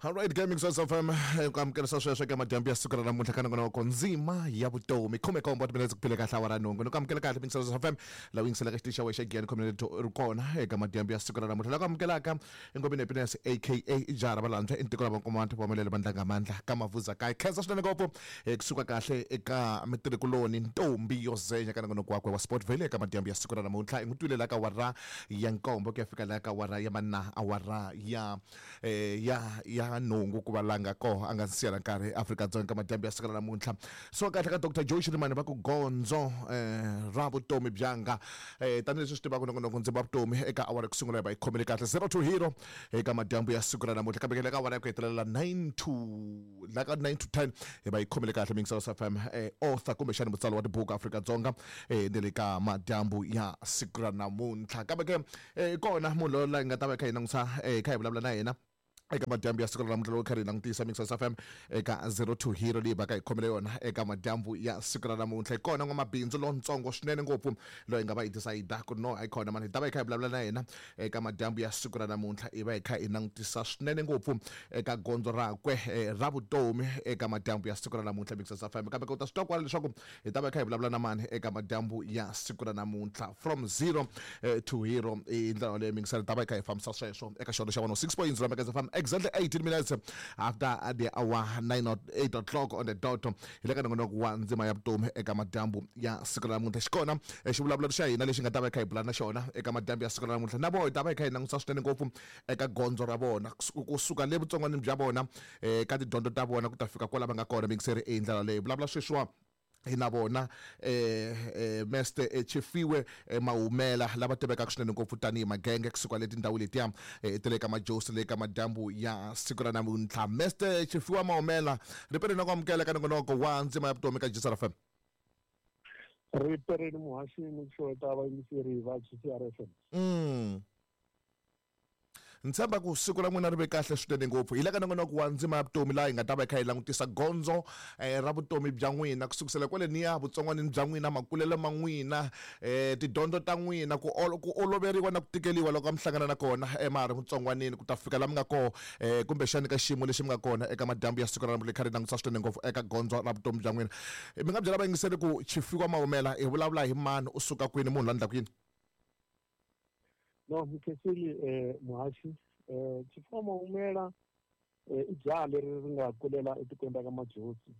Alright, Gaming Source FM, ku amukerisa sweswo eka madyambu ya siku ra namuntlha ka nongonoko ndzima ya vutomi. 17 timinetse ku phile kahle awara nhungu. Ni ku amukela kahle Mix Source FM, laha u yingiselaka xitichi xa wena xa Giyani Community ri kona eka madyambu ya siku ra namuntlha. Laha ku amukelaka i Ngomeni Happiness aka Jara Valandzwa i ntiko la vankomati va melele vandlanga mandla ka Mavuza kaye. Khensa swinene ngopfu kusuka kahle eka mitirhikuloni Ntombi yo Zenya ka nongonoko wakwe wa Sportville eka madyambu ya siku ra namuntlha. I n'wi twile laha ka awara ya nkombo ku ya fika laha ka awara ya manna awara ya ya ya nhungu ku va la nga koho a nga siya na nkarhi Afrika-Dzonga ka madyambu ya siku ra namuntlha. So kahle ka Dr Joe Shirimani va ku gondzo ra vutomi byanga tanihileswi swi tivaka nongonoko ndzima vutomi eka awara ku sungula hi va yi khomile kahle 0 to hero eka madyambu ya siku ra namuntlha, kambe ke le ka awara ya ku hetelela 9 to la ka 9 to 10 hi va yi khomile kahle Mingisa FM, author kumbexani mutsari wa tibuku Afrika-Dzonga ni le ka madyambu ya siku ra namuntlha. Kambe ke kona munhu loyi la hi nga ta va hi kha hi langutisa hi kha hi vulavula na yena eka madyambu ya siku ra namuntlha, loko kha ri hi langutisa Mixers FM eka 02 hero leyi va ka hi khomele yona eka madyambu ya siku ra namuntlha. Hi kona n'wamabindzu lontsongo swinene ngopfu loyi hi nga va hi decide ku no hayi khona mani hi ta va hi kha hi vulavula na yena eka madyambu ya siku ra namuntlha, hi va hi kha hi langutisa swinene ngopfu eka gondzo rakwe ra vutomi eka madyambu ya siku ra namuntlha Mixers FM. Kambe u ta swi twa kwala leswaku hi ta va hi kha hi vulavula na mani eka madyambu ya siku ra namuntlha, from zero to hero i ndlela yaleyo mingisela ta va hi kha hi fambisa sweswo eka xona xa 106.0 Megas FM, exactly 18 minutes after the hour 9 or 8 o'clock on the dot. Hi le ka nongonoko wa ndzima ya vutomi eka madyambu ya siku ra namuntlha. Xikona xivulavulelo xa hina lexi nga ta va hi kha hi bula na xona eka madyambu ya siku ra namuntlha, na voho hi ta va hi kha hi langutisa swinene ngopfu eka gondzo ra vona kusuka le vutsongwanini bya vona ka tidyondzo ta vona ku ta fika kwala va nga kona. Mingiseri i ndlela leyi vulavula sweswiwa hi na vona Meste Chifiwe Mahumela lava tivekaka swinene ngopfu tanihi Magenge kusuka le tindhawu letiya ta le ka Majosi le ka madyambu ya siku ra namuntlha. Meste Chifiwa Mahumela, ripereni na ku amukela ka nongonoko wa ndzima ya vutomi ka GCR FM. Ripereni muhaxi ni ku xeweta vayingiseri va GCR FM. Ni tshemba ku siku ra n'wina ri ve kahle swinene ngopfu. Hi le ka nongonoko wa ndzima ya vutomi laha hi nga ta va hi kha hi langutisa gondzo ra vutomi bya n'wina ku sukusela kwaleniya vutsongwanini bya n'wina, makulelo ma n'wina, tidyondzo ta n'wina, ku ku oloveriwa na ku tikeliwa loko a mi hlangana na kona ma ha ri vutsongwanini ku ta fika la mi nga koho kumbexani ka xiyimo lexi mi nga kona eka madyambu ya siku ra namuntlha. Hi kha ri langutisa swinene ngopfu eka gondzo ra vutomi bya n'wina. Mi nga byela vayingiseri ku Tshifiwa Maumela hi vulavula hi mani, u suka kwini, munhu la endlaka yini? No Mkhensile, muhaxi, Tshifiwa Maumela i jaha leri ri nga kulela etikweni ra ka Majosi.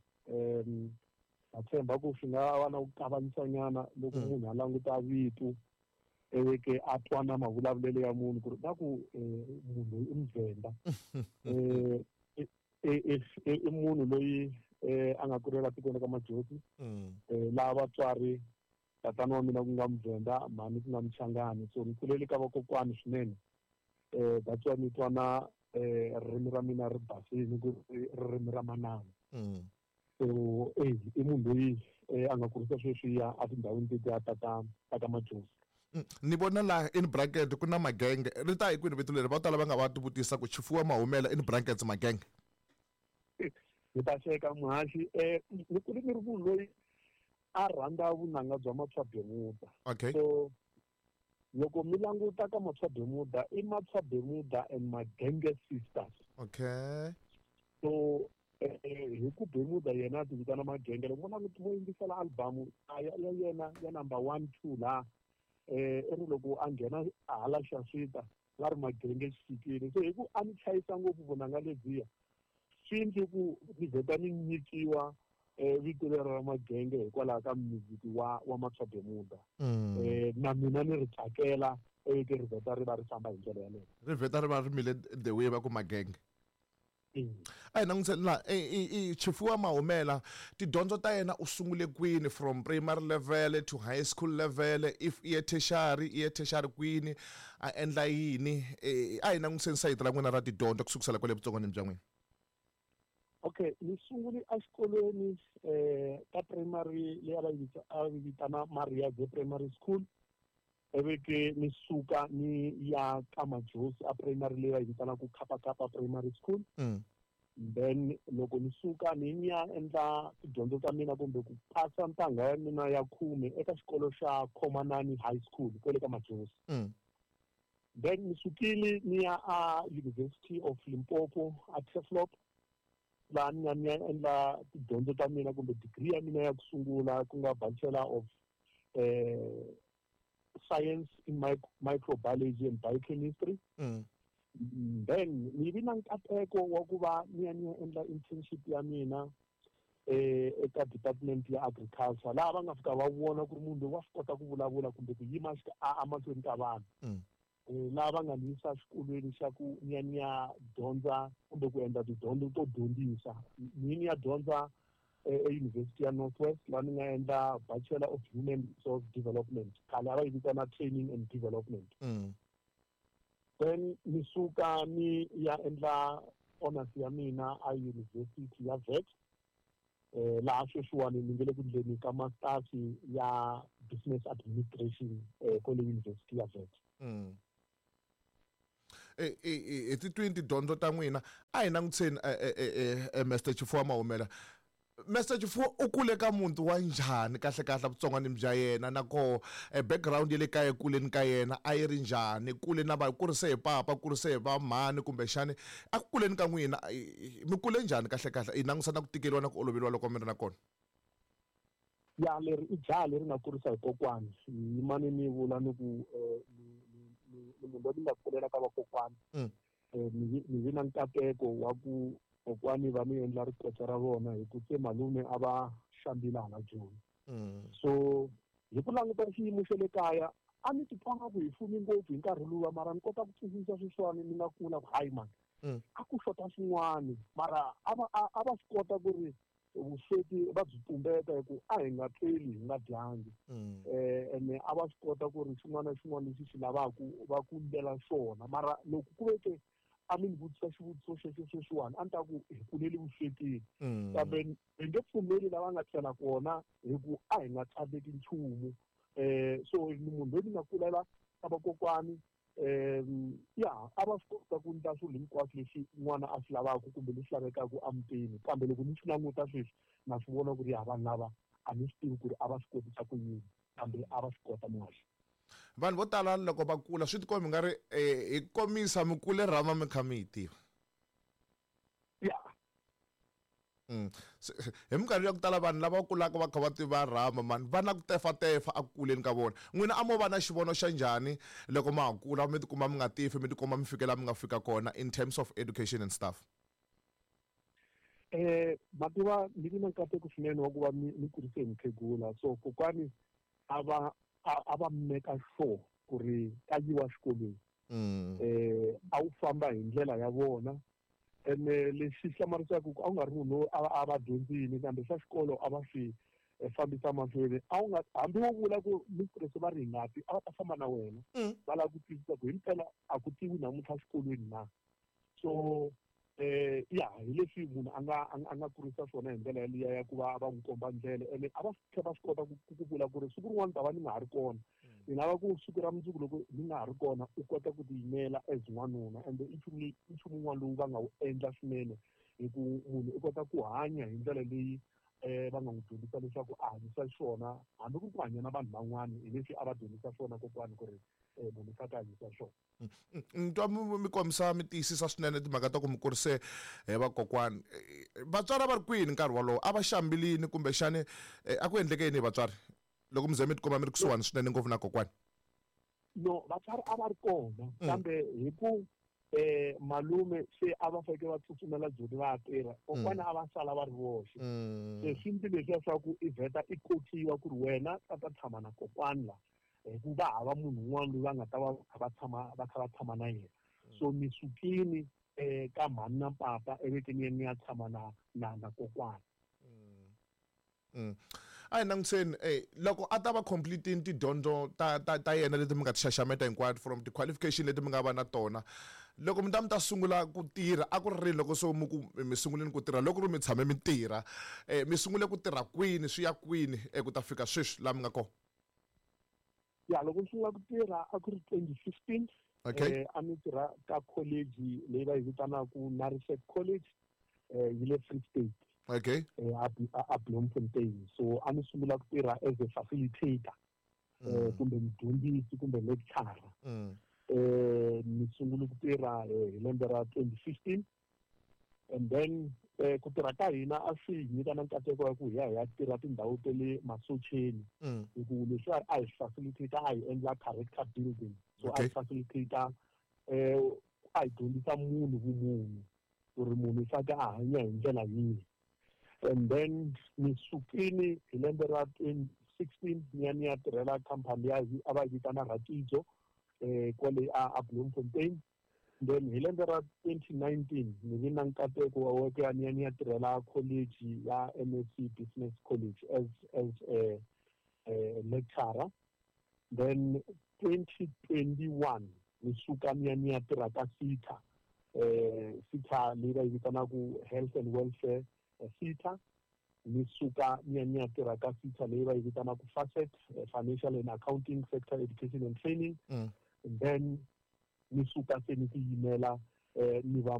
Ha tshemba ku swi nga va na ku kavanyisanyana loko munhu a languta vito ivi ke a twa na mavulavulelo ya munhu ku ri va ku munhu loyi i Muvhenda. I munhu loyi a nga kulela tikweni ra ka Majosi, laha vatswari tatana wa mina ku nga Muvhenda, mhani ku nga Muchangani. So ni kulele ka vakokwani swinene. That's why ni twa na ririmi ra mina ri basile ku ri ririmi ra manana. So i munhu loyi a nga kurisa sweswiya etindhawini tetiya ta ka ta ka Majozi. Ni vona laha in bracket ku na Magenge, ri ta hi kwini vito leri? Vo tala va nga va tivutisa ku Tshifiwa Mahumela in brackets Magenge. Ni ta xeka muhaxi, ni kule ni ri munhu loyi a rhandza vunanga bya Matshwa Bermuda. So loko mi languta ka Matshwa Bermuda, i Matshwa Bermuda and Magenge Sisters. So hi ku Bermuda yena a ti vitana Magenge, loko mo languta mo yingisela album ya yena ya number 1 2 laha, i ri loko a nghena hala Xaswita va ri Magenge xi fikile. So hi ku a ni chayisa ngopfu vunanga lebyiya, swi endle ku ni vheta ni nyikiwa vito leri ra Magenge hikwalaho ka music wa Matshwa Bermuda. Na mina ni ri tsakela ke ri vheta ri va ri famba hi ndlela yaleyo. Ri vheta ri va ri mile the way va ku Magenge. A hi langutiseni laha i Tshifiwa Mahumela, tidyondzo ta yena u sungule kwini from primary level to high school level, if i ye tertiary, i ye tertiary kwini, a endla yini? A hi langutiseni sayiti ra n'wina ra tidyondzo ku sukusela kwale vutsongwanini bya n'wina. Okay, ni sungule exikolweni ka primary leyi a va yi a yi vitana Maria Ze Primary School, ivi ke ni suka ni ya ka Majosi a primary leyi va yi vitanaka Kappa Kappa Primary School. Then loko ni suka ni ya endla tidyondzo ta mina kumbe ku pasa ntangha ya mina ya khume eka xikolo xa Khomanani High School kwale ka Majosi. Then ni sukile ni ya a University of Limpopo a Turfloop, laha ni nga ni ya endla tidyondzo ta mina kumbe degree ya mina ya ku sungula, ku nga Bachelor of Science in Microbiology and Biochemistry. Then ni vi na nkateko wa ku va ni ya ni ya endla internship ya mina eka department ya agriculture, laha va nga fika va vona ku ri munhu loyi wa swi kota ku vulavula kumbe ku yima emahlweni ka vanhu. Laha va nga ni yisa xikolweni xa ku ni ya ni ya dyondza kumbe ku endla tidyondzo to dyondzisa. Ni ya dyondza eUniversity ya North West, laha ni nga endla Bachelor of Human Resource Development, khale a va yi vitana Training and Development. Then ni suka ni ya endla honors ya mina a University ya Wits, laha sweswiwani ni nge le ku endleni ka masters ya Business Administration kwale University ya Wits. Hi ti twini tidyondzo ta n'wina. A hi langutiseni Mr Chifuwa Mahumela. Mr Chifuwa u kule ka muti wa njhani kahle kahle vutsongwanini bya yena, na koho background ya le kaya kuleni ka yena a yi ri njhani? Kule na va kurise hi papa, kurise hi va mhani, kumbexani a ku kuleni ka n'wina mi kule njhani kahle kahle, hi langusa na ku tikeriwa na ku oloveriwa loko mi ri na kona? Ya, leri i jaha leri nga kurisa hi kokwani. Yimani ni vula ni ku ni munhu loyi ni nga kulela ka vakokwani. Ni vi na nkateko wa ku kokwani va mi endla rikotsa ra vona, hi ku se malume a va xambile hala Joni. So hi ku languta xiyimo xa le kaya, a ni titwanga ku hi fumi ngopfu hi nkarhi luwa, mara ni kota ku twisisa sweswiwani ni nga kula ku hayi mani, a ku xota swin'wani, mara a va swi kota ku ri vusweti va byi tumbeta, hi ku a hi nga tleli hi nga dyangi. Ene a va swi kota ku ri xin'wana na xin'wana lexi xi lavaka va ku ndlela xona. Mara loko ku veke a mi ni vutisa xivutiso xexo sweswiwani, a ni ta ku hi kuleli vuswetini, kambe hi nge pfumeli lava nga tlela kona, hi ku a hi nga tsandzeki nchumu. So ni munhu loyi ni nga kulela ka vakokwani. Ya, a va swi kota ku endla swilo hinkwaswo leswi n'wana a swi lavaka kumbe leswi lavekaka emutini, kambe loko ni swi languta sweswi na swi vona ku ri ya vanhu lava a ni swi tivi ku ri a va swi kotisa ku yini, kambe a va swi kota muhaxi. Vanhu vo tala loko va kula swi tikomba nga ri hi komisa mi kule rhama mi kha mi yi tiva. Ya. Hi minkarhi ya ku tala vanhu lava kulaka va kha va tiva rhama mani va na ku tefatefa a ku kuleni ka vona. N'wina a mo va na xivono xa njhani loko ma ha kula, mi tikuma mi nga tifi, mi tikuma mi fike laha mi nga fika kona in terms of education and stuff? Mativa ni vi na nkateko swinene wa ku va ni kurise hi mukhegula. So kokwani a va a va meka sure ku ri ka yiwa xikolweni. A wu famba hi ndlela ya vona. Ene lexi hlamarisaka ku a wu nga ri munhu loyi a va dyondzile, kambe swa xikolo a va swi fambisa mahlweni. A wu nga hambi wo vula ku mistress va ri hi ngati, a va ta famba na wena. Va lava ku twisisa ku himpela a ku tiwi namuntlha xikolweni na. So ya, hi leswi munhu a nga a nga kurisa swona hi ndlela yaliya ya ku va va n'wi komba ndlela. Ene a va tlhela va swi kota ku vula ku ri siku rin'wana ta va ni nga ha ri kona, ni lava ku siku ra mundzuku loko ni nga ha ri kona u kota ku tiyimela as n'wanuna. Ende i nchumu i nchumu wun'wana lowu va nga wu endla swinene, hi ku munhu u kota ku hanya hi ndlela leyi va nga n'wi dyondzisa leswaku a hanyisa xiswona, hambi ku ri ku hanya na vanhu van'wana, hi leswi a va dyondzisa swona kokwani ku ri munhu u fanele a hanyisa swona. Ni twa mi kombisa mi tiyisisa swinene timhaka ta ku mi kurise hi vakokwani. Vatswari a va ri kwini nkarhi wolowo? A va xambilini kumbexani a ku endleke yini hi vatswari loko mi ze mi tikuma mi ri kusuhani swinene ngopfu na kokwani? No, vatswari a va ri kona, kambe hi ku malume se a va fanekele va tsutsumela Joni va ya tirha, kokwana a va sala va ri voxe. Se swi ndzi leswiya swa ku i vheta i kokiwa ku ri wena ta ta tshama na kokwani la, hi ku va hava munhu un'wana loyi va nga ta va kha va tshama va kha va tshama na yena. So ni sukile ka mhani na papa evekeni ya ni ya tshama na kokwani. A hi langutiseni loko a ta va completini tidyondzo ta yena leti mi nga ti xaxameta hinkwato, from ti-qualification leti mi nga va na tona, loko mi ta mi ta sungula ku tirha, a ku ri rini loko so mi ku mi sunguleni ku tirha? Loko ri mi tshame mi tirha, mi sungule ku tirha kwini, swi ya kwini ku ta fika sweswi laha mi nga kona? Ya, loko ni sungula ku tirha a ku ri 2015. A ni tirha ka college leyi va yi vitanaka Narisec College, yi le Free State. A Bloemfontein. So a ni sungula ku tirha as a facilitator, kumbe mudyondzisi kumbe lecturer. Ni sungule ku tirha hi lembe ra 2015, and then ku tirha ka hina a swi hi nyika na nkateko wa ku hi ya hi ya tirha tindhawu ta le masocheni, hi ku leswi a hi facilitate, a hi endla character building. So a hi facilitate, a hi dyondzisa munhu vumunhu, ku ri munhu i faneke a hanya hi ndlela yihi. And then ni sukile hi lembe ra 2016, ni ya tirhela khampani ya a va yi vitana Rakidzo, kwale a Bloemfontein. Then hi lembe ra 2019 ni vi na nkateko wa ku ya ni ya tirhela college ya MSc Business College as a lecturer. Then 2021 ni suka ni ya tirha ka SETA, SETA leyi va yi vitanaku Health and Welfare SETA. Ni suka ni ya tirha ka SETA leyi va yi vitanaku FASET, Financial and Accounting Sector Education and Training. And then ni suka se ni tiyimela, ni va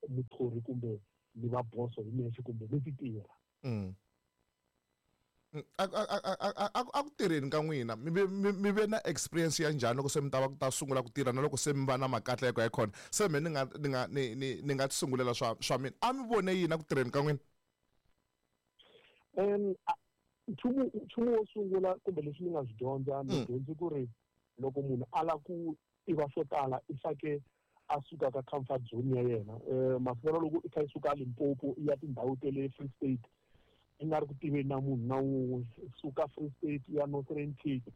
muthori kumbe ni va boso hi nexe kumbe ni ti tirha. A ku tirheni ka n'wina, mi ve na experience ya njhani loko se mi ta va ku ta sungula ku tirha, na loko se mi va na makatleko ya khona, se me ni nga ni nga ti sungulela swa mina, a mi vone yini a ku tirheni ka n'wina? Nchumu wo sungula kumbe leswi ni nga swi dyondza, ni dyondze ku ri loko munhu a lava ku tiva swo tala, i fake a suka ka comfort zone ya yena. Masiku loko i kha i suka Limpopo i ya tindhawu ta le Free State, i nga ri ku tiveni na munhu na wun'we, suka Free State ya Northern Cape,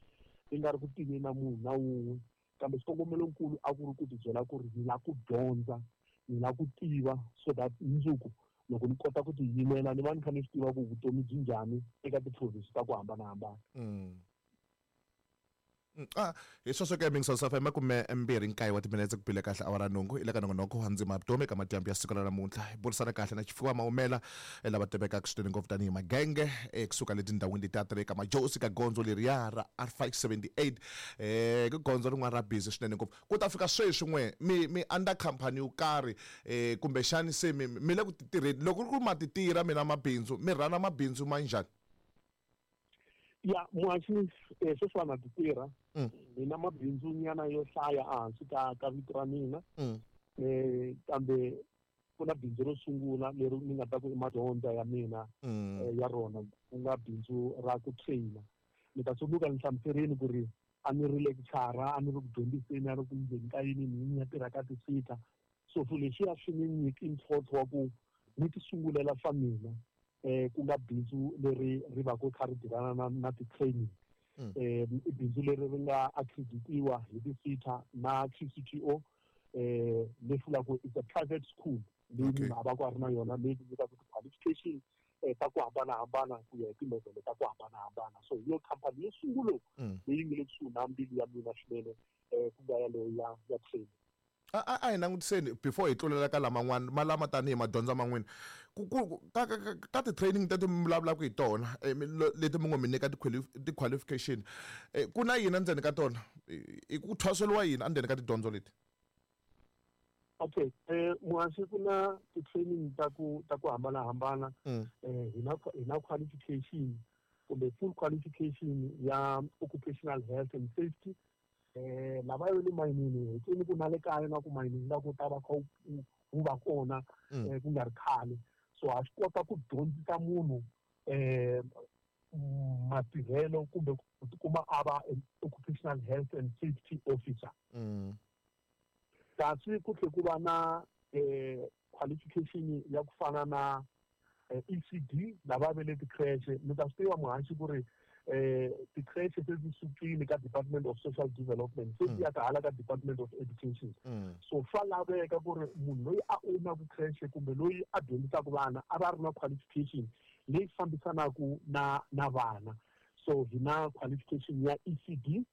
i nga ri ku tiveni na munhu na wun'we, kambe xikongomelonkulu a ku ri ku ti byela ku ri ni lava ku dyondza, ni lava ku tiva, so that mundzuku loko ni kota ku tiyimela, ni va ni kha ni swi tiva ku vutomi byi njhani eka ti-province ta ku hambanahambana. Ah, hi sweswo ke, mingiso FM, 29 wa timinetse ku bile kahle awara 8, i le ka nongonoko wa Ndzima Vutomi. Eka madyambu ya siku ra namuntlha hi burisana kahle na Tshifhiwa Maumela, lava tivekaka swinene ngopfu tanihi Magenge, kusuka le tindhawini letiya ta le ka Majosi, ka gondzo leriya ra R578, ku gondzo rin'wana ra busy swinene ngopfu. Ku ta fika sweswi, n'we mi under company yo karhi, kumbexani se mi le ku ti tirheni? Loko ku ri ku ma ti tirha mina mabindzu, mi rhana mabindzu ma njhani? Ya, muhaxi, sweswiwani na ti tirha. Ni na mabindzu nyana yo hlaya ehansi ka vito ra mina, kambe ku na bindzu ro sungula leri ni nga ta ku i madyondza ya mina ya rona, ku nga bindzu ra ku trainer. Ni ta tsundzuka ni hlamuserini ku ri a ni ri lecturer, a ni ri ku dyondziseni, a ri ku ndzeni ka yini ni ya tirha ka ti-SETA. So swilo leswiya swi ni nyiki ntlhontlho wa ku ni ti sungulela swa mina, ku nga bindzu leri ri va ku kha ri tirhana na ti-training. I bindzu leri ri nga accreditiwa hi ti-SETA na QCTO, leswi vulaka it's a private school leyi munhu a va ku a ri na yona, leyi nyikaka ti-qualification ta ku hambanahambana ku ya hi ti-level ta ku hambanahambana. So hi yo khampani yo sungula leyi nga le kusuhi na mbilu ya mina swinene, ku nga yaleyo ya training. A hi langutiseni before hi tlulela ka laman'wana ma lama tanihi madyondza man'wini, ku ka ti-training teti mi vulavulaka hi tona, leti mi ngo mi nyika ti-qualification, ku na yini endzeni ka tona? I ku thwaseliwa yini endzeni ka tidyondzo leti? Okay, muhaxi, ku na ti-training ta ku hambanahambana. Hi na qualification kumbe full qualification ya occupational health and safety. Lava yo le mayinini, hi twini ku na le kaya na ku mayinini la ku ta va kha wu va kona ku nga ri khale. So ha swi kota ku dyondzisa munhu matirhelo kumbe ku tikuma a va occupational health and safety officer. Kasi ku tlhe ku va na qualification ya ku fana na ECD, lava ve le ti-creche. Mi ta swi tiva, muhaxi, ku ri ti-creche se ti sukile ka Department of Social Development, se ti ya ka hala ka Department of Education. So swa laveka ku ri munhu loyi a ownaku creche kumbe loyi a dyondzisaka vana a va ri na qualification leyi fambisanaka na vana. So hi na qualification ya ECD,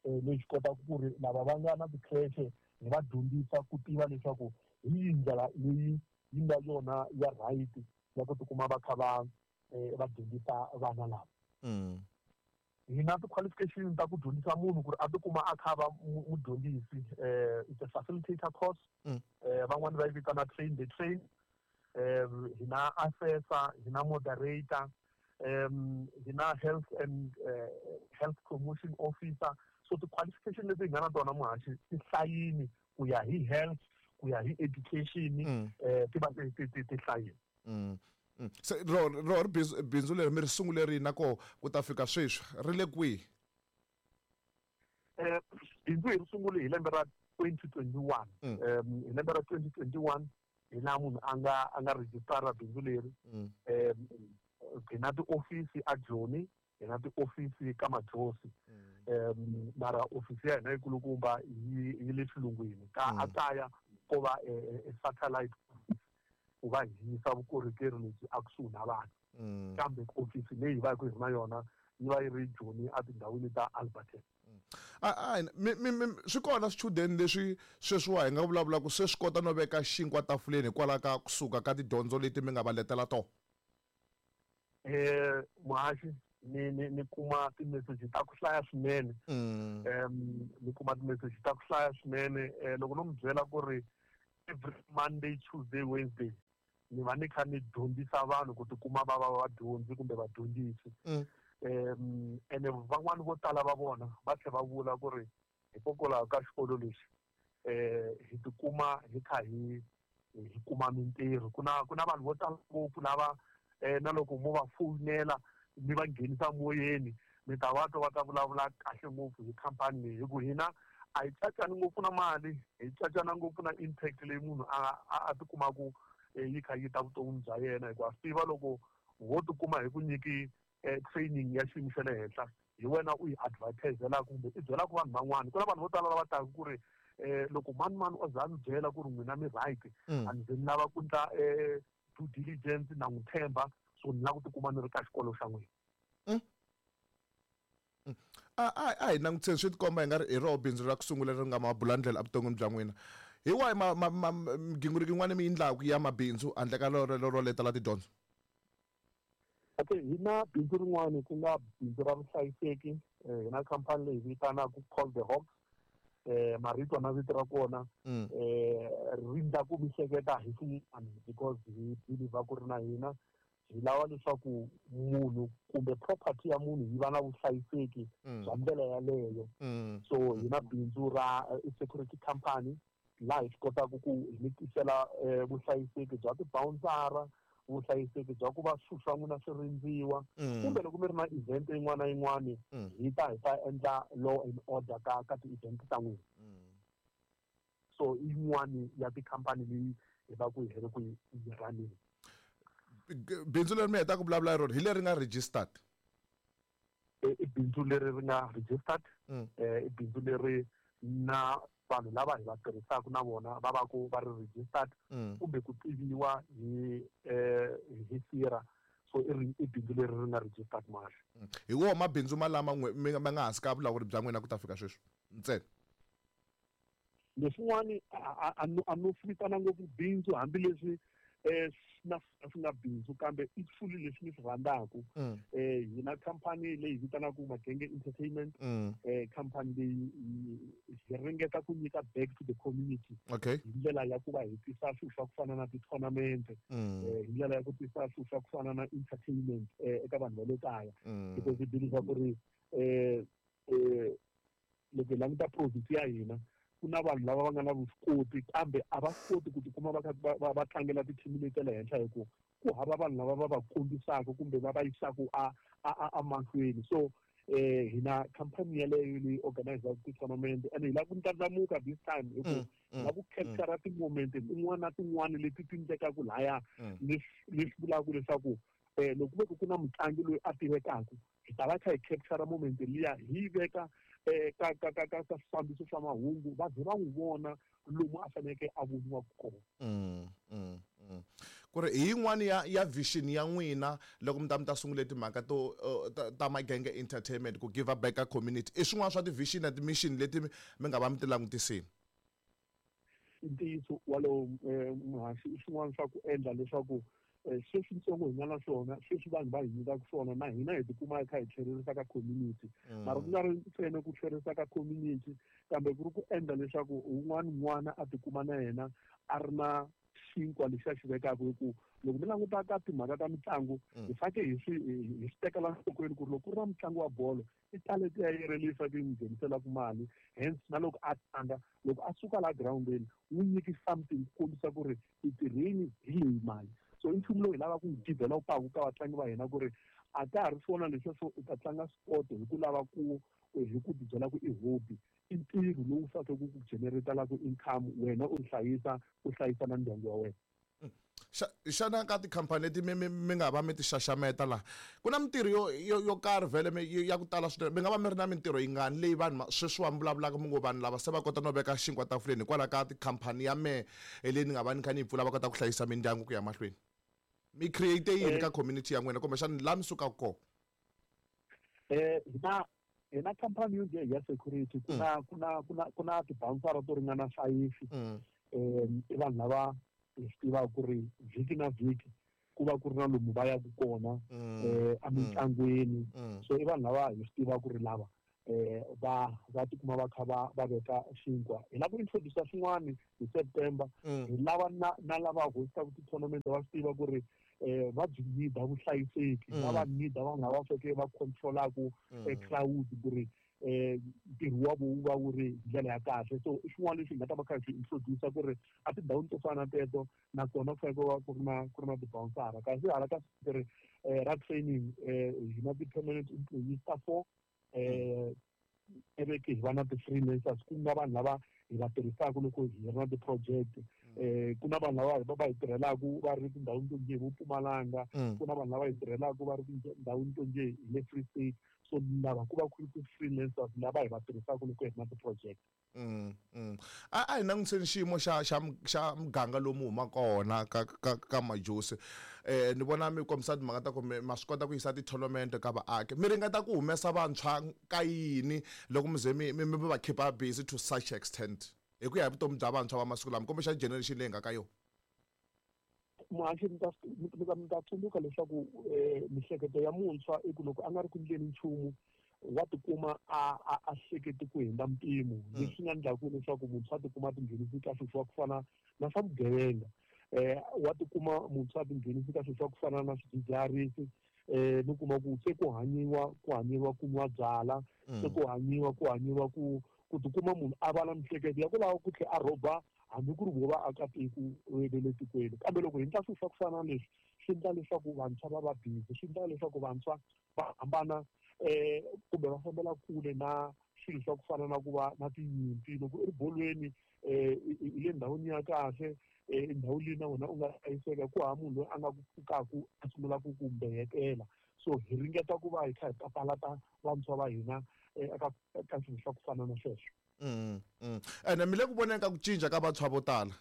leyi swi kotaka ku ri lava va nga na ti-creche hi va dyondzisa ku tiva leswaku hi yihi ndlela leyi yi nga yona ya right ya ku tikuma va kha va dyondzisa vana lava. Hi na ti-qualification ta ku dyondzisa munhu ku ri a tikuma a kha va mudyondzisi, it's a facilitator course. Van'wani va yi vitana train the train. Hi na assessor, hi na moderator, hi na health and health promotion officer. So So ti-qualification leti hi nga na tona, muhaxi, ti hlayini ku ya hi health, ku ya hi education, ti va ti hlayini. Se ro ri bindzu leri mi ri sungule rini, na koho ku ta fika sweswi ri le kwihi? Bindzu hi ri sungule hi lembe ra 2021. Hi lembe ra 2021 hi laha munhu a nga rejistara bindzu leri. Hi na tiofisi a Joni, hi na tiofisi ka Majosi, mara ofisi ya hina yikulukumba yi le xilungwini ka a kaya ko va satellite office ku va hi yisa vukorhokeri lebyi a kusuhi na vanhu. Kambe ofisi leyi hi va hi ri na yona yi va yi ri Joni, etindhawini ta Alberton. A mi swi kona swichudeni leswi sweswiwa hi nga vulavulaka se swi kota no veka xinkwa tafuleni hikwalaho ka kusuka ka tidyondzo leti mi nga va letela tona? Muhaxi, ni kuma timeseji ta ku hlaya swinene. Ni kuma timeseji ta ku hlaya swinene. Loko no mi byela ku ri every Monday, Tuesday, Wednesday ni va ni kha ni dyondzisa vanhu ku tikuma va va vadyondzi kumbe vadyondzisi. Ene van'wani vo tala va vona va tlhela va vula ku ri hikokwalaho ka xikolo lexi hi tikuma hi kha hi kuma mintirho. Ku na vanhu vo tala ngopfu lava na loko mo va fowunela mi va nghenisa moyeni, mi ta va twa va ta vulavula kahle ngopfu hi khampani leyi, hi ku hina a hi cacani ngopfu na mali, hi cacana ngopfu na impact leyi munhu a tikumaku yi kha yi ta vuton'wini bya yena, hikuva swi tiva loko ho tikuma hi ku nyiki training ya xiyimo xa le henhla, hi wena u yi advertiselaka kumbe i byelaka vanhu van'wana. Ku na vanhu vo tala lava taka ku ri loko mani mani o za a mi byela ku ri n'wina mi right, a ni ze ni lava ku ndla due diligence, na n'wi tshemba, so ni lava ku tikuma ni ri ka xikolo xa n'wina. A hi langutiseni, swi tikomba hi nga ri hi roho bindzu ra ku sungula ri nga mabulandlela evuton'wini bya n'wina. Hi wahi migingiriko yin'wana mi yi endlaku ya mabindzu handle ka lero letela tidyondzo? Okay, hi na bindzu rin'wani ku nga bindzu ra vuhlayiseki. Hi na khampani leyi vitanaka Call the Hawks. Marito na vito ra kona ri ndla ku mi hleketa hi swin'wana, because hi believe ku ri na hina hi lava leswaku munhu kumbe property ya munhu yi va na vuhlayiseki bya ndlela yaleyo. So hi na bindzu ra security company laha hi swi kotaka ku hi mi tisela vuhlayiseki bya tibawunsara, vuhlayiseki bya ku va swilo swa n'wina swi rindziwa, kumbe loko mi ri na event yin'wana na yin'wana, hi ta endla law and order ka ti-event ta n'wina. So i yin'wani ya tikhampani leyi hi va ku hi ri ku yi running. Bindzu leri mi hetaka ku vulavula hi rona hi leri nga registered? I bindzu leri ri nga registered. I bindzu leri na vanhu lava hi va tirhisaka na vona va va ku va ri registered kumbe ku tiviwa hi SIRA. So i bindzu leri ri nga registered, mahle. Hi woho mabindzu malama mi nga hansi ka vulawuri bya n'wina ku ta fika sweswi ntsena? Leswin'wani a no swi vitana ngopfu bindzu, hambileswi na swi nga bindzu, kambe i swilo leswi ni swi rhandzaku. Hi na khampani leyi vitanaka Magenge Entertainment. Khampani leyi hi ringeta ku nyika back to the community hi ndlela ya ku va hi tisa swilo swa ku fana na ti-tournament, hi ndlela ya ku tisa swilo swa ku fana na entertainment eka vanhu va le kaya, because hi believe ku ri loko hi languta province ya hina, ku na vanhu lava va nga na vuswikoti kambe a va swi koti ku tikuma va kha va tlangela tithimi leti ta le henhla, hi ku ku hava vanhu lava va va kombisaka kumbe va va yisaka a mahlweni. So hina khampani yaleyo leyi organizaka ti-tournament, and hi lava ku ndlandlamuka this time, hi ku hi lava ku capture ti-moment tin'wana na tin'wana leti ti endlekaka laya. Leswi vulaka leswaku loko ku ve ku na mutlangi loyi a tivekaka, hi ta va kha hi capture moment liya, hi yi veka ka swifambiso swa mahungu, va ze va n'wi vona lomu a faneleke a voniwa kona. Ku ri hi yin'wani ya vision ya n'wina loko mi ta sungule timhaka to ta Magenge Entertainment, ku give back ka community, i swin'wana swa ti-vision na ti-mission leti mi nga va mi ti langutisini? I ntiyiso walowo, muhaxi. I swin'wana swa ku endla leswaku sweswitsongo hi nga na swona sweswi, vanhu va hi nyikaka swona, na hina hi tikuma hi kha hi tlhererisa ka community. Mara ku nga ri ntsena ku tlherisa ka community, kambe ku ri ku endla leswaku un'wana n'wana a tikuma na yena a ri na xinkwa lexi a xi vekaka hi ku loko mi languta ka timhaka ta mitlangu hi faneke hi swi hi swi tekela nhlokweni ku ri loko ku ri na mutlangi wa bolo i talent ya yena leyi faneke yi n'wi ngheniselaka mali, hence na loko a tlanga loko a suka laha girawundini wu nyiki something ku kombisa ku ri i tirhini hi leyi mali. So i nchumu lowu hi lavaka ku wu develop-aka ka vatlangi va hina ku ri a ka ha ri swona leswiya swo u ta tlanga sport hi ku lava ku hi ku tibyela ku i hobby, i ntirho lowu faneleke ku ku generate-laka income wena u hlayisa u hlayisa na ndyangu wa wena. Xana ka tikhampani leti mi mi mi nga va mi ti xaxameta laha ku na mintirho yo yo yo karhi vhele mi ya ku tala swinene, mi nga va mi ri na mintirho yingani leyi vanhu sweswiwa mi vulavulaka mi ngo vanhu lava se va kota no veka xinkwa tafuleni hikwalaho ka tikhampani ya mehe leyi ni nga va ni kha ni yi pfula va kota ku hlayisa mindyangu ku ya mahlweni? Mi create yini ka community ya n'wina kumbexana laha mi sukaka kona? Hina khampani yo nge ya security ku na ku na ku na ku na ti-bouncer to ringana five. I vanhu lava hi swi tivaka ku ri vhiki na vhiki ku va ku ri na lomu va yaka kona emitlangwini. So i vanhu lava hi swi tivaka ku ri lava va va tikuma va kha va va veka xinkwa. Hi lava ku introduce swin'wana hi September, hi lava na na lava hostaka ti-tournament va swi tiva ku ri va byi need vuhlayiseki, va va need vanhu lava faneke va control-aku crowd ku ri ntirho wa vo wu va wu ri hi ndlela ya kahle. So i swin'wana leswi hi nga ta va kha hi swi introduce ku ri a tindhawini to fana na teto nakona ku fanele ku va ku ri na ti-bouncer. Kasi hala ka ri ra training hi na ti-permanent employees ta 4, eveke hi va na ti-freelancers ku nga vanhu lava hi va tirhisaka loko hi ri na ti-project. Ku na vanhu lava va hi tirhelaka va ri tindhawini to njhe vo Mpumalanga, ku na vanhu lava hi tirhelaka va ri tindhawini to njhe hi le Free State. So lava ku va ku ri ti-freelancers lava hi va tirhisaka loko hi ri na ti-project. A hi langutiseni xiyimo xa muganga lomu humaka kona ka Majosi. Ni vona mi kombisa timhaka ta ku ma swi kota ku yisa ti-tournament ka vaaki, mi ringeta ku humesa vantshwa ka yini loko mi ze mi va keep-a busy to such extent hi ku ya hi vutomi bya vantshwa va masiku lama kumbexana generation leyi nga ka yona? Muhaxi, mi ta tsundzuka leswaku mihleketo ya muntshwa i ku loko a nga ri ku endleni nchumu wa tikuma a hleketi ku hundza mpimo, leswi nga endlaku leswaku muntshwa a tikuma a tinghenisi ka swilo swa ku fana na swa vugevenga. Wa tikuma muntshwa a tinghenisi ka swilo swa ku fana na swidzidziharisi, mi kuma ku se ku hanyiwa ku nwa byala, se ku hanyiwa ku tikuma munhu a va na mihleketo ya ku lava ku tlhela a rhoba hambi ku ri vo vaakatiko va le tikweni. Kambe loko hi endla swilo swa ku fana na leswi, swi endla leswaku vantshwa va va busy, swi endla leswaku vantshwa va hambana kumbe va fambela kule na swilo swa ku fana na ku va na tinyimpi. Loko u ri bolweni i le ndhawini ya kahle, ndhawu leyi na wena u nga hlayiseka, ku hava munhu loyi a nga ku pfukaku a sungula ku ku mbeyetela. So hi ringeta ku va hi kha hi papalata vantshwa va hina eka swilo swa ku fana na sweswo. Ene mi le ku voneni ka ku cinca ka vantshwa vo tala?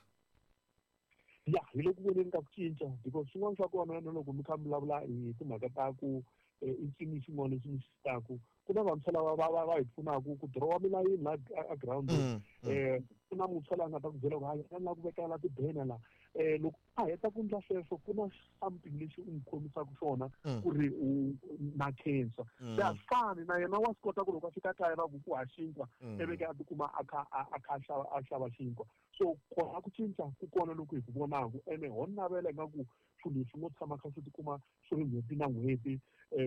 Ya, hi le ku voneni ka ku cinca because swin'wana swa kona na loko mi kha mi vulavula hi timhaka ta ku i ncini xin'wana lexi mi xi taku, ku na vantshwa lava va hi pfunaka ku dirowa milayini la a girawundini. Ku na muntshwa loyi a nga ta ku byela ku hayi, a ni lava ku vekela ti-banner la. Loko a heta ku endla sweswo, ku na something lexi u n'wi khomisaka xona ku ri u na khensa. Se a swi fani na yena, wa swi kota ku loko a fika kaya va ku ku ha xinkwa, eveke a tikuma a kha a xava xinkwa. So kona ku cinca ku kona loku hi ku vonaku, ene ho navela ingaku swilo leswi ngo tshama kha swi tikuma swi ri n'hweti na n'hweti,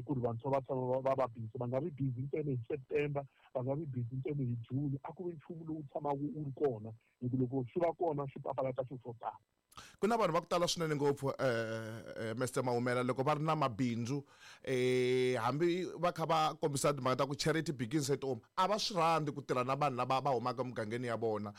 ku ri vantshwa va tshama va busy, va nga vi busy ntsena hi September, va nga vi busy ntsena hi June. A ku vi nchumu lowu tshamaka wu ri kona, hi ku loko swi va kona swi papalata swilo swo tala. Ku na vanhu va ku tala swinene ngopfu, Mr Mahumela, loko va ri na mabindzu, hambi va kha va kombisa timhaka ta ku charity begins at home, a va swi rhandzi ku tirha na vanhu lava va humaka emugangeni ya vona.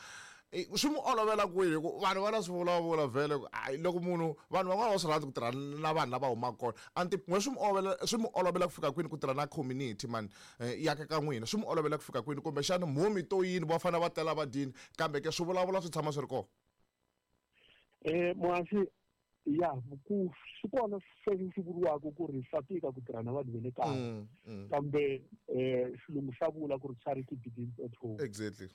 Swi mu olovela kwihi hi ku vanhu va na swi vulavula vhele ku hayi, loko munhu vanhu van'wana va swi rhandzi ku tirha na vanhu lava humaka kona anti n'we swi mu olovela ku fika kwini ku tirha na community man ya ka n'wina? Swi mu olovela ku fika kwini, kumbexana mhumi to yini va fanele va tela va dyini, kambe ke swi vulavula swi tshama swi ri kona? Muhaxi, ya ku swi kona sweswi swi vuriwaka ku ri swa tika ku tirha na vanhu va le kaya, kambe xilungu xa vula ku ri charity begins at home. A swi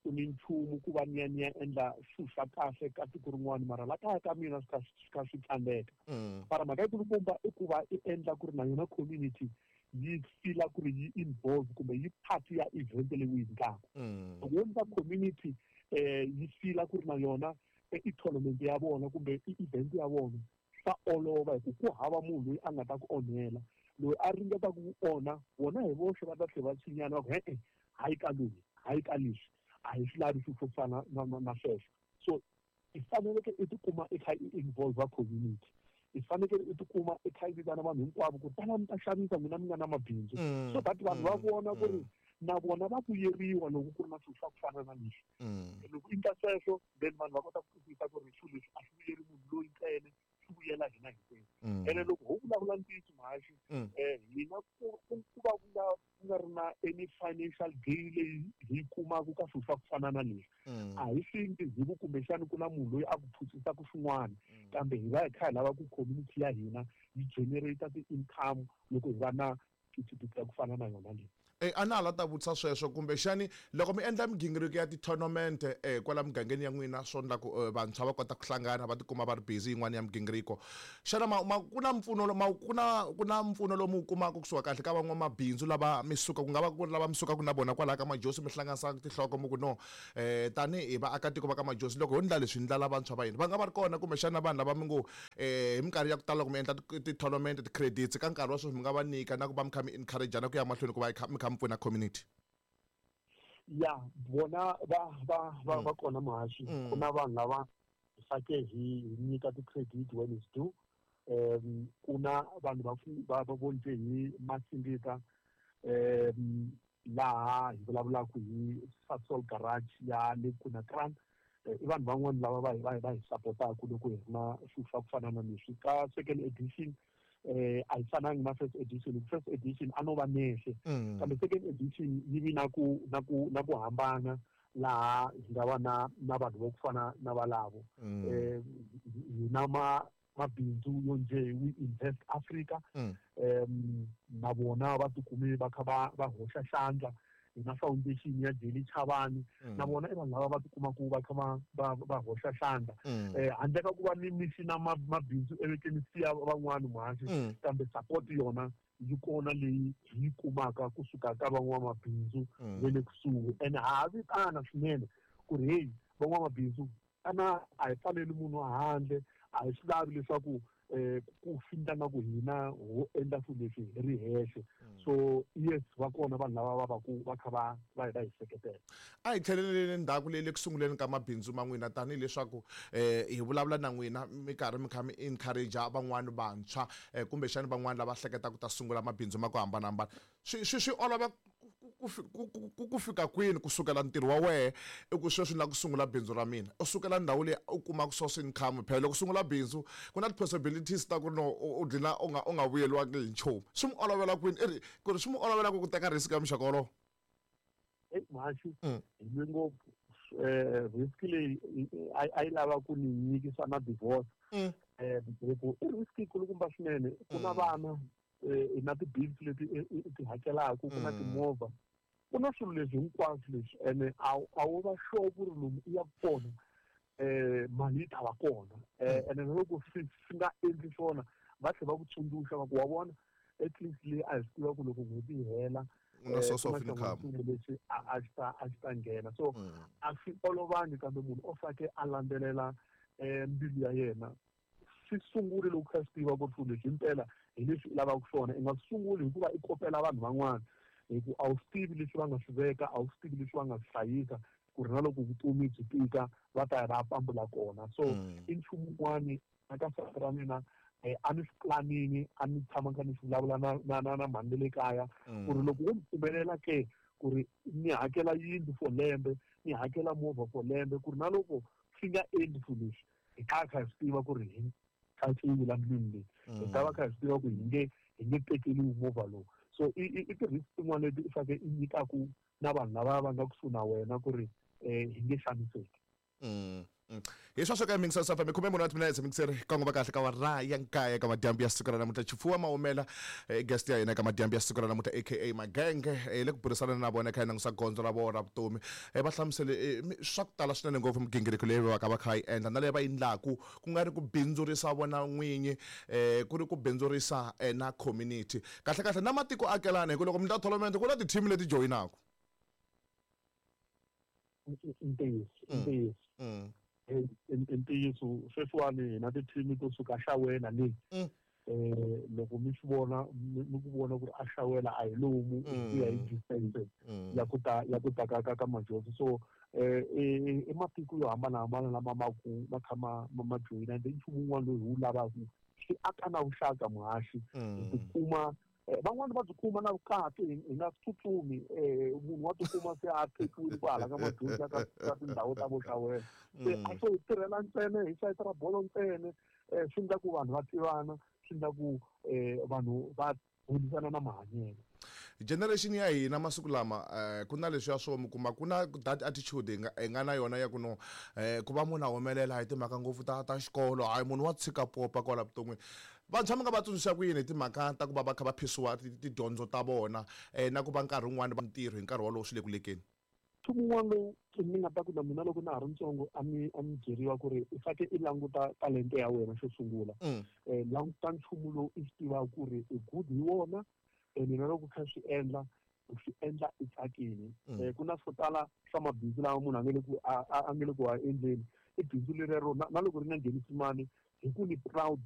pfuni nchumu ku va ni ya endla swilo swa kahle ka tiko rin'wana, mara la kaya ka mina swi kha swi tsandzeka. Mara mhaka yikulukumba i ku va i endla ku ri na yona community yi feel-a ku ri yi involve kumbe yi part ya event leyi u yi endlaka. Loko wo endla community yi feel-a ku ri na yona. I tournament ya vona kumbe i event ya vona, swa olova hi ku ku hava munhu loyi a nga ta ku onhela. Loyi a ringetaka ku onha, vona hi voxe va ta tlhela va tshinyana va ku e-e, hayi ka loyi, hayi ka leswi, a hi swi lavi swilo swo fana na sweswo. So i faneleke i tikuma i kha i involve community, i fanekele i tikuma i kha i vitana vanhu hinkwavo ku tala mi ta xavisa, n'wina mi nga na mabindzu, so that vanhu va vona ku ri na vona va vuyeriwa loko ku ri na swilo swa ku fana na leswi. Loko i endla sweswo, then vanhu va kota ku twisisa ku ri swilo leswi a swi vuyeri munhu loyi ntsena, swi vuyela hina hinkwenu. Ene loko ho vulavula ntiyiso, muhaxi, hina ku va ku nga ri na any financial gain leyi hi yi kumaka ka swilo swa ku fana na leswi. A hi swi endli hi ku kumbexani ku na munhu loyi a ku phusisaka swin'wana, kambe hi va hi kha hi lava ku community ya hina yi generate ti-income loko hi va na mphikipiki ya ku fana na yona leyi. A na ha la ta vutisa sweswo, kumbexani loko mi endla migingiriko ya ti-tournament kwala mugangeni ya n'wina, swo endla ku vantshwa va kota ku hlangana, va tikuma va ri busy yin'wana ya migingiriko, xana ku na mpfuno ku na mpfuno lowu mi wu kumaka kusuka kahle ka van'wamabindzu lava mi suka, ku nga va ku ri lava mi sukaka na vona kwalaya ka Majosi, mi hlanganisa tinhloko mi ku no, tanihi vaakatiko va ka Majosi, loko ho ndla leswi, ndlala vantshwa va hina va nga va ri kona, kumbexana vanhu lava mi ngo hi minkarhi ya ku tala loko mi endla ti-tournament, ti-credits ka nkarhi wa sweswi mi nga va nyika na ku va mi kha mi encourage na ku ya mahlweni ku va mi kha mi pfuna community? Ya, vona va kona, muhaxi. Ku na vanhu lava hi fake hi nyika ti-credit when it's due. Ku na vanhu va vo njhe hi Masingita, laha hi vulavulaka hi Sasol Garage ya le Kunakran. I vanhu van'wani lava va hi sapotaka loko hi ri na swilo swa ku fana na leswi. Ka second edition, a yi fanangi na first edition. First edition a no va nexe, kambe second edition yi vi na ku hambana, laha hi nga va na vanhu vo ku fana na valavo. Hi na mabindzu yo njhe We Invest Africa, na vona va tikume va kha va hoxa xandla. Hi na foundation ya Jelly Chavani, na vona i vanhu lava va tikumaka va kha va hoxa xandla. Handle ka ku va ni misi na mabindzu evekeni siya van'wani, muhaxi, kambe support yona yi kona leyi hi yi kumaka kusuka ka van'wamabindzu va le kusuhi. Ene ha ha vitana swinene ku ri heyi, van'wamabindzu, ana a hi pfaleli munhu handle, a hi swi lavi leswaku ku findla nga ku hina ho endla swilo leswi hi ri hexe. So yes, va kona vanhu lava va va ku va kha va hi seketela. A hi tlheleleni ndzhaku leyi le ku sunguleni ka mabindzu ma n'wina, tanihileswaku hi vulavula na n'wina mi karhi mi kha mi encourage van'wani vantshwa, kumbexani van'wani lava hleketaka ku ta sungula mabindzu ma ku hambanahambana. Swi olova ku fika kwini kusukela ntirho wa wehe i ku sweswi ni lava ku sungula bindzu ra mina, u sukela ndhawu leyi u kumaka source income? Phela loko u sungula bindzu ku na ti-possibilities ta ku no u dlina u nga vuyeliwangi hi nchumu. Swi mi olovela kwini, i ri ku ri swi mi olovela ku teka risk ya muxaka wolowo? Eyi muhaxi, hi lwe ngopfu. Risk leyi a yi lava ku ni nyikisa na divorce, hi ku i risk yikulukumba swinene. Ku na vana, na ti-bills leti i ti hakelaka, ku na timovha, ku na swilo leswi hinkwaswo leswi, ene a wu va sure ku ri lomu i yaku kona mali yi ta va kona. Ene na loko swi nga endli swona, va tlhela va ku tsundzuxa va ku wa vona, at least leyi a hi swi tiva ku loko n'hweti yi hela u na source of income. Lexi a xi ta nghena. So a swi olovangi, kambe munhu o fake a landzelela mbilu ya yena. Swi sunguli loko kha swi tiva ku ri swilo leswi himpela hi leswi i lavaka swona. I nga swi sunguli hikuva i kopela vanhu van'wana, hi ku a wu swi tivi leswi va nga swi veka, a wu swi tivi leswi va nga swi hlayisa, ku ri na loko vutomi byi tika va ta ya va ya pambula kona. So i nchumu wun'wani eka sati ra mina, a ni swi planini, a ni tshama kha ni swi vulavula na mhani le kaya ku ri loko wo ni pfumelela ke ku ri ni hakela yindlu for lembe, ni hakela movha for lembe, ku ri na loko swi nga endli swilo leswi, hi ta kha hi swi tiva ku ri hi tshatshiwi la ndlwini leyi, hi ta va kha hi swi tiva ku hi nge tekeliwi movha lowu. So i ti-risk tin'wana leti i faneke i nyikaku na vanhu lava va nga kusuhi na wena ku ri hi nge xaniseki. Hi sweswo ka Mixer FM, 14 wa timinetse, mixer kongoma kahle ka wara ya 9 ka madyambu ya siku ra namuntlha. Chifuwa Maumela, guest ya hina ka madyambu ya siku ra namuntlha, aka Magenge, le ku burisana na vona kha hi langusa gondzo ra vona ra vutomi. Va hlamusele swa ku tala swinene ngopfu, migingiriko leyi va ka va kha va yi endla na leyi va yi endlaku, ku nga ri ku bindzurisa vona n'winyi, ku ri ku bindzurisa na community kahle kahle na matiko akelana, hi ku loko mi ta tournament ku na ti-team leti joyinaka. Ntiyiso, ntiyiso. I ntiyiso, sweswiwani hi na ti-team to suka xawela le. Loko mi swi vona, mi ku vona ku ri a xawela a hi lomu ku ya hi distance ya ku ta ka Majozi. So i matiko yo hambanahambana lama ma ku ma kha ma joyina, and nchumu wun'wana lowu hi wu lavaka swi aka na vuxaka, muhaxi. Hi tikuma van'wani va tikuma na vukati hi nga tsutsumi. Munhu wa tikuma se a tekiwile kwahala ka Majozi, ka tindhawu ta vo xawela. Se a swo hi tirhela ntsena hi sayiti ra bolo ntsena. Swi endla ku vanhu va tivana, swi endla ku vanhu va burisana na mahanyelo. Generation ya hina masiku lama, ku na leswiya swo mi kuma ku na that attitude hi nga na yona ya ku no ku va munhu a humelela hi timhaka ngopfu ta xikolo, hayi, munhu wa tshika popa kwala vuton'wini. Vantshwa mi nga va tsundzuxa ku yini hi timhaka ta ku va va kha va phisiwa tidyondzo ta vona na ku va nkarhi wun'wani va ntirho hi nkarhi wolowo swi le ku lekeni? Nchumu wun'wana lowu ni nga ta ku na mina loko na ha ri ntsongo a ni byeriwa ku ri u faneke i languta talente ya wena xo sungula. Languta nchumu lowu i swi tivaka ku ri i good hi wona, ene na loko u kha swi endla, u swi endla i tsakile. Ku na swo tala swa mabindzu lama munhu a nga le ku a endleni, i bindzu lerero na loko ri nga nghenisi mali, hi ku ni proud.